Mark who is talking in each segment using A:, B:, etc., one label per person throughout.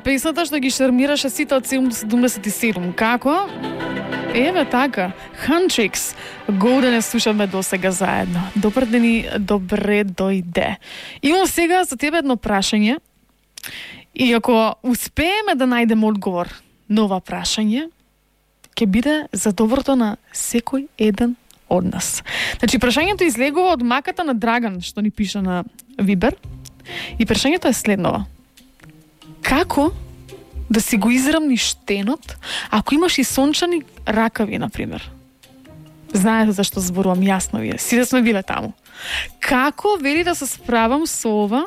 A: Песната што ги шармираше сите од 77. Како? Така. Huntrix. Го да не слушаме до сега заедно. Добар ден и добре дојде. Имам сега за тебе едно прашање. И ако успееме да најдеме одговор на ова прашање, ќе биде за доброто на секој еден од нас. Значи, прашањето излегува од маката на Драган, што ни пише на Вибер. И прашањето е следново. Како да си го израмниш штенот ако имаш и сончани ракави, например? Знаете зашто зборувам, јасно вие. Сите сме биле таму. Како вели да се справам со ова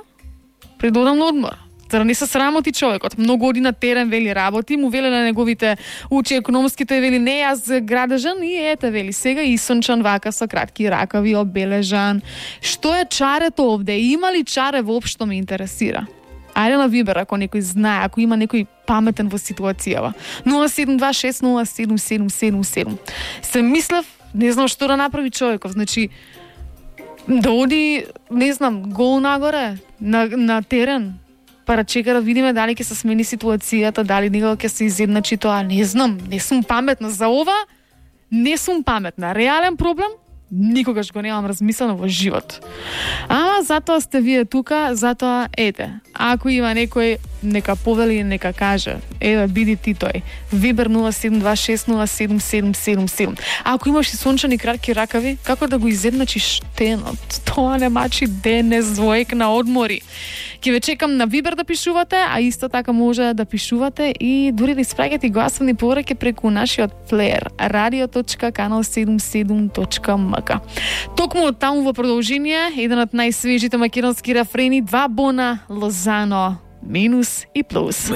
A: пред да одам на одмор? За да не се срамоти човекот. Многу оди на терен, вели, работи, му веле на неговите учи економските, вели, не, јас градежан и ете, вели, сега и сончан вака со кратки ракави, обележан. Што е чарето овде? Има ли чаре воопшто ме интересира? Ајде на Вибер, ако некој знае, ако има некој паметен во ситуацијава. 072607777. Се мислев, не знам што да направи човеков. Значи, да оди, не знам, гол нагоре, на терен, па да чека да видиме дали ќе се смени ситуацијата, дали никога ќе се изедначи тоа. Не знам, не сум паметна за ова, не сум паметна. Реален проблем? Никогаш го немам размислено во живот. Ама затоа сте вие тука, затоа ете. Ако има некој, нека повели, нека каже. Еве, биди ти тој. Вибер 072607777. Ако имаш и сончани кратки ракави, како да го изедначиш штенот? Тоа не мачи денес двоек на одмори. Ќе ве чекам на Вибер да пишувате, а исто така може да пишувате и дури да испраќате гласовни пораки преку нашиот плеер radio.canal77.mk. Токму од таму во продолжение, еден од најсвежите македонски рефрени, 2 бона, Лозано, минус и плюс.